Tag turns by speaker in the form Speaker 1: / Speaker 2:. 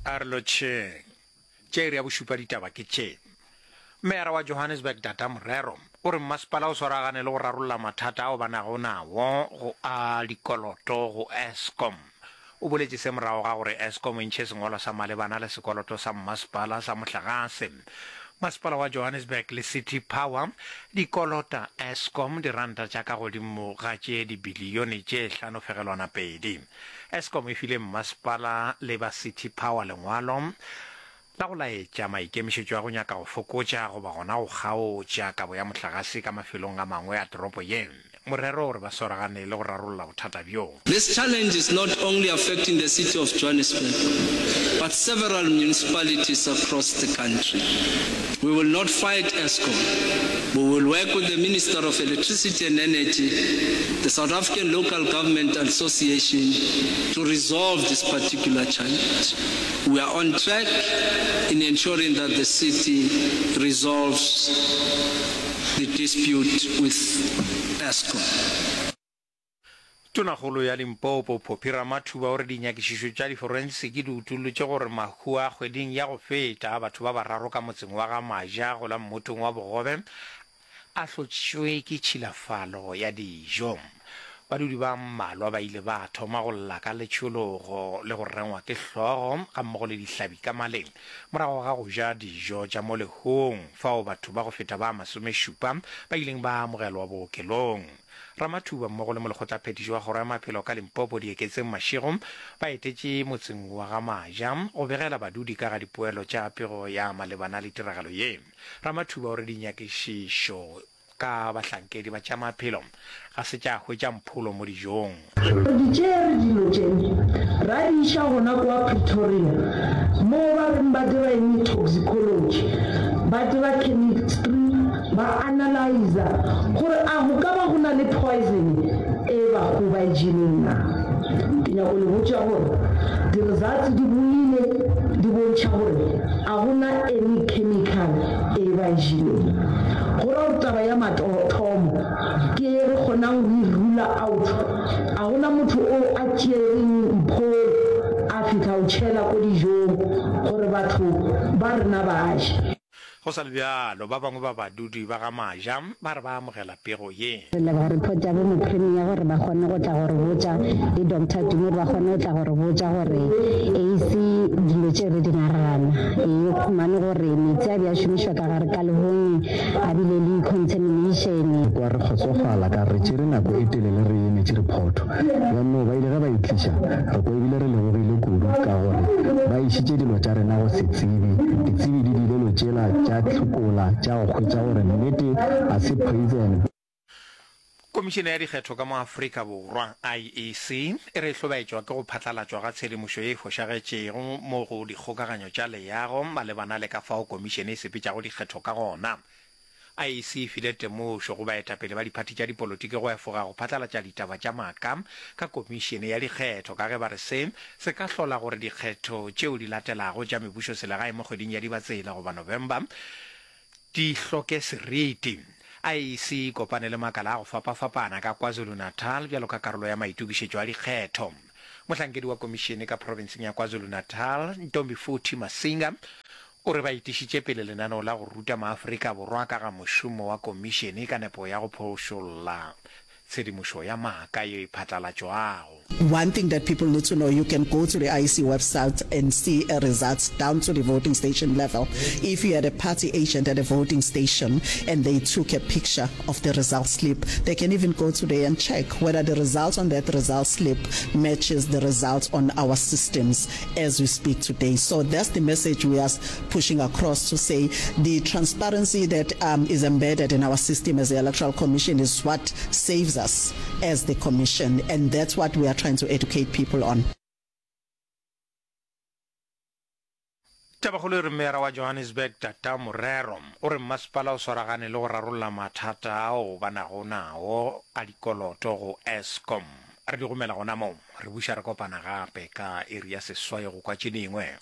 Speaker 1: A re lotšheng. Tša iri ya bošupa ditaba ke tše. Meyara wa Johannesburg Data Morero o re mmasepala o swaragane le go rarolla mathata ao ba nago nawo go a dikoloto go Eskom. O boletše se morago ga gore Eskom e ntšhe sengwalwa sa malebana le sekoloto sa mmasepala sa mohlagase. Masepala wa Johannesburg le City Power di kolota Eskom diranta tša ka godimo ga tše dibilione tše 5.2. Eskom e file mmasepala le ba City Power lengwalo la go laetša maikemišetšo a go nyaka go fokotša goba gona go kgaotša kabo ya mohlagase ka mafelong a mangwe a toropo ye. Morero o re ba swaragane le go rarolla bothata bjo.
Speaker 2: This challenge is not only affecting the city of Johannesburg, but several municipalities across the country. We will not fight Eskom. We will work with the Minister of Electricity and Energy, the South African Local Government Association to resolve this particular challenge. We are on track in ensuring that the city resolves the dispute with Eskom.
Speaker 1: Tonakgolo ya Limpopo, Phophi Ramathuba o re dinyakišišo tša diforensiki di utollotše gore mahu a kgweding ya go feta a batho ba bararo ka motseng wa ga Maja go la Mmotong wa Bogobe a hlotšwe ke tšhilafalo ya dijo. Badudi ba mmalwa ba ile ba thoma go lla ka letšhologo le go rengwa ke hlogo gammogo le dihlabi ka maleng morago ga go ja dijo tša mo lehung fao batho ba go feta ba masomešupa ba ileng ba amogelwa bookelong. Ramathuba mmogo le molekgotlaphethiši wa Kgoro ya Maphelo ka Limpopo Dieketseng Mashego ba etetše motseng wa ga Maja go begela badudi ka ga dipoelo tša pego ya malebana le tiragalo ye. Ramathuba o re dinyakišišo ka bahlankedi ba tša maphelo ga se tša hwetša mpholo mo dijong.
Speaker 3: Re di tšere dilo tše, ra di iša gona kua Pretoria, moo ba reng ba dira eng toxicology, ba dira chemistry, ba analyzer gore a go ka ba go na le poison e bahu ba e jeleng na. Ke nyako le botša gore di results di boile di bontšha gore a go na any chemical e ba e jeleng. Go ra gore taba ya mathomo ke ye re kgonang go e rule out, a go na motho o a tšereng mpholo a fihla o tšhela ko dijong gore batho ba rena ba je.
Speaker 1: Go sa le bjalo, ba bangwe ba badudi ba ga Maja ba re ba amogela pego ye.
Speaker 4: Re leboga report ya bo mopremier gore ba kgone go tla go re botša le Doctor Tumi gore ba kgone go tla go re botša gore e se dilo tše re di nagana. E khumane gore metsi a be a šomišwa ka gare ka lehong a bile le contamination.
Speaker 5: Re kwa re kgotsofala ka re tšere nako e telele re emetše rephoto. Bjanno ba ile ge ba e tliša, re kwa ebile re lebogile kudu ka gore ba išitše dilo tša rena go setsebi. Ditsebi di dilelo tšela tša hlokola tša go hwetša gore nnete ga se poison.
Speaker 1: Komišene ya Dikgetho ka mo Afrika Borwa, IEC, e re e hlobaetšwa ke go phatlalatšwa ga tshedimošo ye e fošagetšego mo go dikgokaganyo tša leago malebana le ka fao komišene e sepetšago dikgetho ka gona. IEC e file temošo go baetapele ba diphathi tša dipolotiki go efoga go phatlalatša ditaba tša maaka ka komišene ya dikgetho ka ge ba re se se ka hlola gore dikgetho tšeo di latelago tša mebušoselegae mo kgweding ya Dibatsela goba November di hloke seriti. IEC e kopane le makala a go fapafapana ka KwaZulu-Natal bjalo ka karolo ya maitokišetšo a dikgetho. Mohlankedi wa komišene ka profenseng ya KwaZulu-Natal, Ntombifuthi Masinga, O re ba etišitše pele lenaneo la go ruta maAfrika Borwa ka ga mošomo wa komišene ka nepo ya go phošolla tshedimošo ya maaka yeo e phatlalatšwago.
Speaker 6: One thing that people need to know, you can go to the IEC website and see a results down to the voting station level. If you had a party agent at a voting station and they took a picture of the result slip, they can even go today and check whether the results on that result slip matches the results on our systems as we speak today. So that's the message we are pushing across to say the transparency that um, is embedded in our system as the Electoral Commission is what saves us as the commission and that's what we are trying to educate people on.
Speaker 1: Tabakgolo e re Meyara wa Johannesburg Tata Morero o re mmasepala o swaragane le go rarolla mathata ao ba nago nao a dikoloto go Eskom. Re di gomela gona moo, re buša re kopana gape ka iri ya seswai go kwa tše dingwe.